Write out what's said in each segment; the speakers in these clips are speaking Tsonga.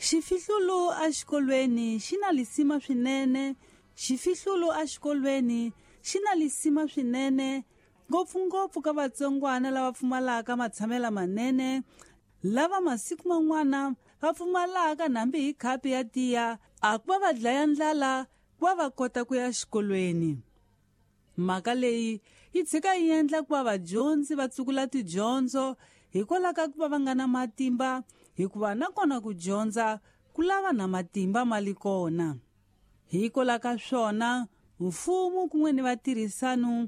Xifihlulo exikolweni xi na lisima swinene. Xifihlulo exikolweni xi na lisima swinene, ngopfungopfu ka vatsongwana lava pfumalaka matshamelo manene, lava masiku man'wana va pfumalaka nambi hi khapi ya tiya, a ku va va dlaya ndlala ku va va kota ku ya xikolweni. Mhaka leyi yi tshika yi endla ku va vadyondzi va tsukula tidyondzo hikwalaho ka ku va va nga na matimba, hikuva nakona ku dyondza ku lava na matimba ma li kona. Hikwalaho ka swona, mfumo kun'we ni vatirhisano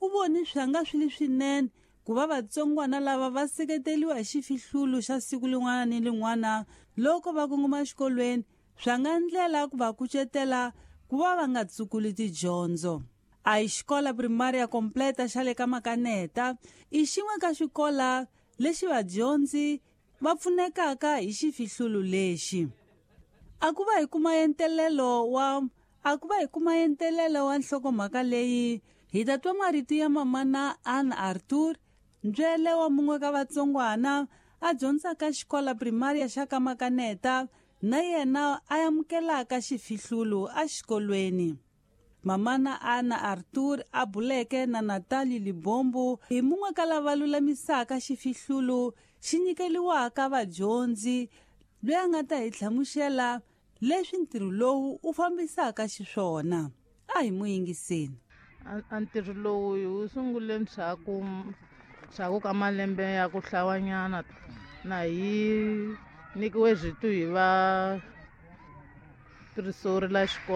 u voni swi nga swi li swinene ku va vatsongwana lava va seketeriwa hi xifihlulo xa siku lin'wana ni lin'wana loko va kongoma exikolweni, swa nga ndlela ku va kucetela ku va va nga tsukuli tidyondzo. A hi xikola primaria completa xa le ka Makaneta i xin'we ka swikola lexi vadyondzi va pfunekaka hi xifihlulo lexi. A ku va hi kuma entelelo wa a ku va hi kuma entelelo wa nhlokomhaka leyi, hi ta twa marito ya mamana Ann Arthur, ntswele wa mun'we ka vatsongwana a dyondzaka xikola primaria xa ka Makaneta, na yena a amukelaka xifihlulo exikolweni. Mamana Anna Arthur a buleke na Natalie Libombo hi mun'we ka lava lulamisaka xifihlulo xi nyikeliwaka vadyondzi, loyi a nga ta hi hlamusela leswi ntirho lowu u fambisaka xiswona. A hi mu yingiseni. A ntirho lowu hi wu sungule ndzhaku ka malembe ya ku hlawanyana, na hi nyikiwe zwitu hi va tirisori la xikolo.